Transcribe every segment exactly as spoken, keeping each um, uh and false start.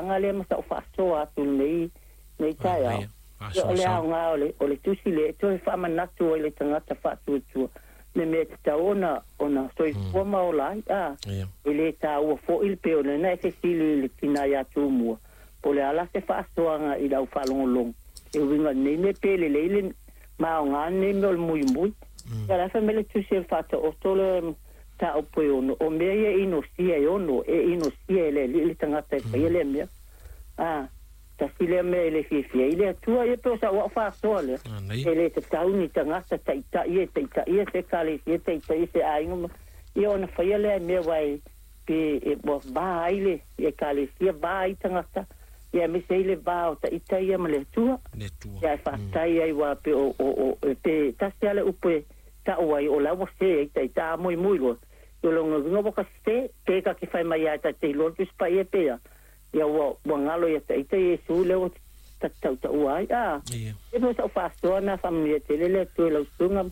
tulaga lea ma sa'u fa'asoa atu lenei nei taeao. Ia o le aogā o le o le tusi lea e toe fa'amanatu ai le tagata fa'atuatua le mea tatau ona ona soifua ma ola ai a e lē tāua fo'i le pei o lena e fesili i le tinā iā Tumua po o le a la se fa'asoaga i lau fa'alogologo e uiga lenei mea pe lelei le maogā lenei mea o le muimui. Ia la fai mai le tusi e le fa'ata'oto le mataupu e ono o mea ia e inosia e ono e inosia e le Alii le tagata e faia lea mea a tasi lea mea e le fiafia ai le Atua. Ia pe o sa'u a'u fa'asoa lea e lē tatau ni tagata taʻitaʻi e taʻitaʻia se ekalesia, taʻitaʻia se aiga ma ia ona faia lea mea uae pe e ua vā ai le ekalesia, vā ai tagata ia aemaise ai le vā o taʻita ia ma le Atua. Ia ae fa'afetai ai uā pe o o o pe tasi a le upu e ta'u ai o la ua se ai taʻita a muimui loa i o lona uiga ua ka sese pe ka ke fai mai ae tate iloa le Tusi Paia pea ia ua ua galo ia taʻita Iesu lea ua tautaua ai a e mo sa'u fa'asoa na fa'amanuia tele le Atua i lau susuga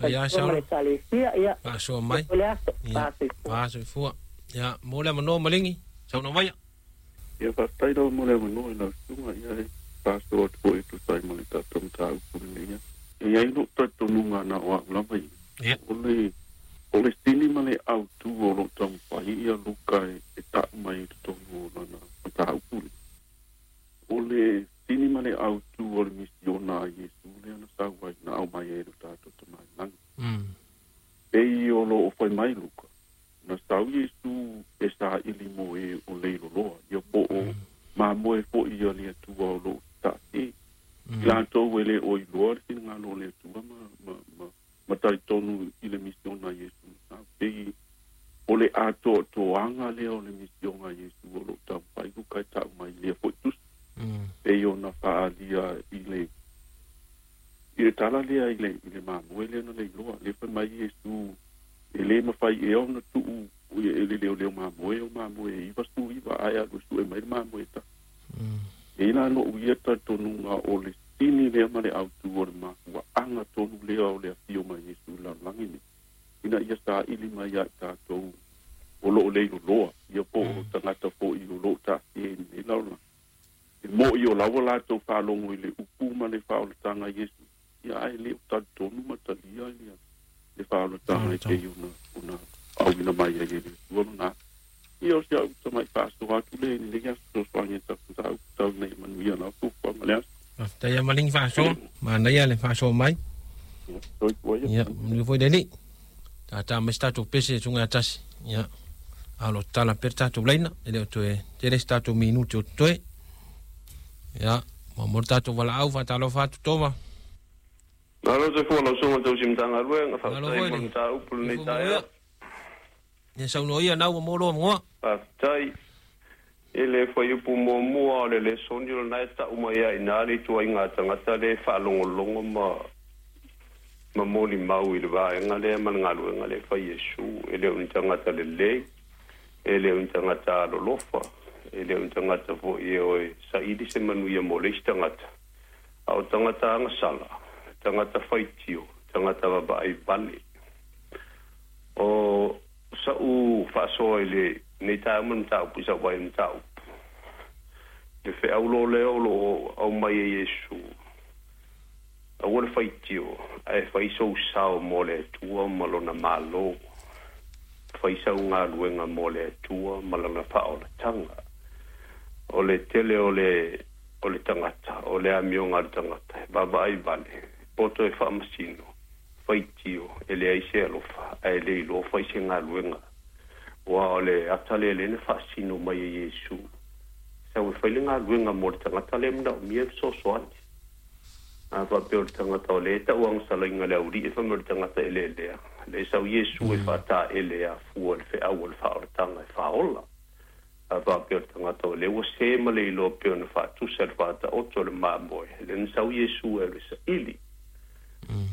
ia ma le ekalesia ia fa'asoa mai o le aso ia fa'asoifua ia mo le avanoa Maligi saunoa maia. Ia fa'afetai lava mo le avanoa i lau susuga ia e fa'asoa atu fo'i e tusa ai ma le tatou mataupu lenei aso. E i ai lo'u talitonuga na o a'u lava ia o le o le sini ma le autū o lo'o taumafai ia Luka e, e ta'u mai i totonu o lana mataupu lea. O le sini ma le autū o le misiona a Iesu lea na sau ai na aumai ai e lo tatou Tamā i lagi. Mm. Pei o lo'o fai mai Luka, na sau Iesu e sāili mo e o leiloloa, ia po o mamoe fo'i ia le Atua o lo'o ta'asē. Mm. I latou e lē o iloa le finagalo o le Atua ma, ma, ma, ma talitonu i le misiona a Iesu na sau. Pei o le atoatoaga lea o le misiona a Iesu o lo'o taumafai Luka e ta'u mai i lea fo'i tusi. Mm. Pei ona fa'aalia i le i le tala lea i le i le mamoe lea na leiloa le fai mai Iesu e lē mafai ea ona tu'u e le leoleo mamoe o mamoe e iva sefulu iva ae alu e su'e mai le mamoe e tasi. Mm. E la lo'u ia talitonuga o le sini lea ma le autū o le mafua'aga tonu lea o le afio mai Iesu i le lalolagi nei ina ia sāili mai ia i tatou o lo'o leiloloa ia po o tagata fo'i o lo'o ta'asia i lenei lalolagi e mo'i o laua latou faalogo i le upu ma le faaolataga a Iesu ia ae lē o talitonu ma talia ia le faaolataga e pei ona ona auina mai ai e le Atua lona ia o si a'u tama'i fa'asoa atu lea i lenei aso fesoasoani e tafata'u tau nei manuia lau fuafuaga le aso. Faafetai ia Maligi fa'asoa manaia le fa'asoa mai. Ia soifua ia. Ia manuia foi le Alii tātā mai se tatou pese e suga e tasi ia a o lo tatala pea le tatou laina e le o toe tele se tatou minute o totoe ia muamua le tatou valaau fa'atalofa atu Toma. Malo soifua lau susuga i le tausi Matagaluega, Malo faafetai foi mo le le mataupu lenei soifua taeao. manuia ia saunoa ia nau ua mo loa magoa. Faafetai. I le fuaiupu muamua o le lesoni o lena e ta'u mai ai iā le ituaiga tagata lea e faalogologo ma ma molimau i le vaega lea ma le galuega lea e fai Iesu, e le o ni tagata lelei, e le o ni tagata alolofa, e le o ni tagata fo'i e oe saili se manuia mo le isi tagata, a o tagata agasala, tagata faitio, tagata vavaai vale. O sa'u fa'asoa i lenei taeao ma le mataupu i sa'u vaai i le mataupu le fe'au lo lea o lo'o aumai e Iesu, aua le faitio ae fai sou sao mo le Atua ma lona Mālō, fai sau galuega mo le Atua ma lana fa'aolataga. O le tele o le o le tagata o le amioga a le tagata e vaavaai vale poto e fa'amasino faitio e leai se alofa ae le iloa fai se galuega ua o le ata lea lea na fa'asino mai e Iesu sau e fai le galuega mo le tagata lea mana'omia e fesoasoani. A faapea o le tagata o lea e ta'uagasalaina le auli'i fai mai o le tagata eleelea lea sau Iesu e fa'ataʻele e afua le fe'au o le fa'aolataga e fāola. A faapea o le tagata o lea ua sē ma le iloa pei ona fa'atusa le fa'ata'oto o le mamoe lea na sau Iesu e alu e sa'ili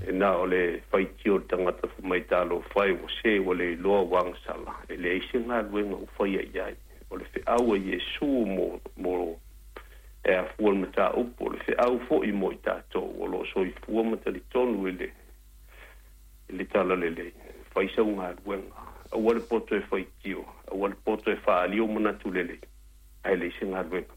e na o le faitio o le tagata fai mai talofa e ua sē ua le iloa ua agasala e leai se galuega ua faia i ai. O le fe'au a Iesu mo mo e afua le mataupu o le fe'au fo'i mo i tatou o lo'o soifua ma talitonu i le i le talalelei fai sau galuega aua le poto e faitio aua le poto e fa'aalio manatu lelei ae leai se galuega.